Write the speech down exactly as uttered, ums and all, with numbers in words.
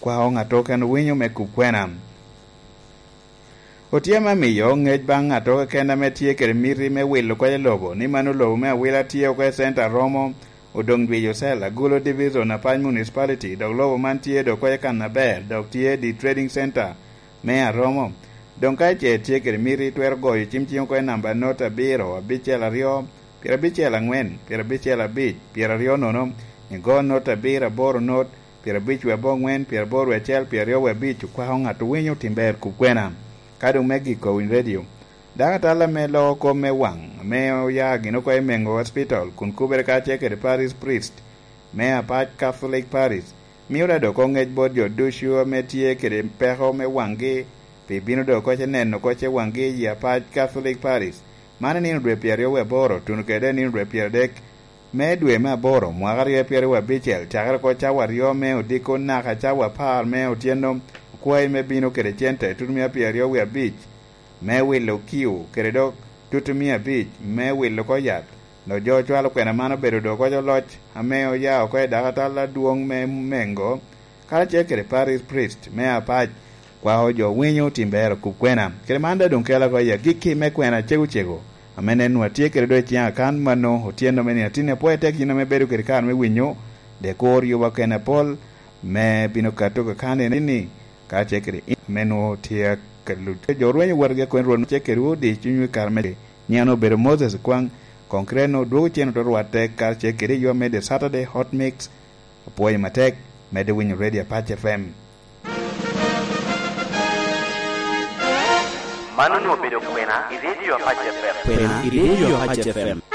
kwao ŋat okene winyo me kub kwena. Otye ame miyo ŋec baŋ ŋat okene ame tye kede miti me wilo koko i lobo, ni mano lobo me awila tye oko i center Aromo, Odong Dweyo Cell, Agulu Division, Apac Municipality, dok lobo man tye dok oko i kan aber, dok tye di trading center me Aromo. Doŋ ka ice tye kede miti, twero goyo cim cing oko i namba not abiro, abicel aryo, pyerabicel aŋwen, pyerabicel abic, pyeraryo nono, igo not abiro aboro not, pyerabic wie aboŋwen, pyeraboro wie acel, pyeraryo wie abic, okwako ŋat owinyo tim ber kub kwena. Ka doŋ me giko, Winy Radio. Dako atal ame loko kop me waŋ, ame oya gin oko i Mengo Hospital, kun kubere kacel kede Parish Priest me Apac Catholic Parish, mio da dok oŋec bot jo ducu ame tye kede peko me waŋgi, pi bino dok oko ce neno oko ce waŋgi i Apac Catholic Parish. Man i nino dwe pyeraryo wie aboro, tuno kede nino dwe pyeradek me dwe me aboro, mwaka aryo pyeraryo wie abicel, cakere oko cawa aryo me odiko naka cawa apar me otyeno, okwayi me bino kede cente tutumia pyeraryo wie abic me wilo kiu, kede dok tutumia abic me wilo oko yat. Dok jo ocwalo kwena man obedo dok oko loc ame oya oko i dako atal adwoŋ me Mengo, karacel kede Parish Priest me Apac, kwao jo winyo tim ber okub kwena. Kede man daŋ doŋ kela oko i agikki me kwena cego cego, ame nen nwa tye kede doŋ i ciŋ akan mano otyeno me nino atin apwoyo tek yin ame bedo kede kare me winyo, de kur yuba kene apol me bino kato kakani ni, karacel kede in ame nwoŋo tye ka luc. Jo rweny owotgi akweny Rwot ce kede odi cunywu i kare me nyiŋ obedo Moses Kwaŋ, konkreno dwogo cen oto rwatte karacel kede yo me The Saturday Hot Mix. Apwoyo matek, medde winyo Radio Apac F M. Man onwoŋo obedo kwena i Radio Apac F M. Kwena i Radio Apac F M.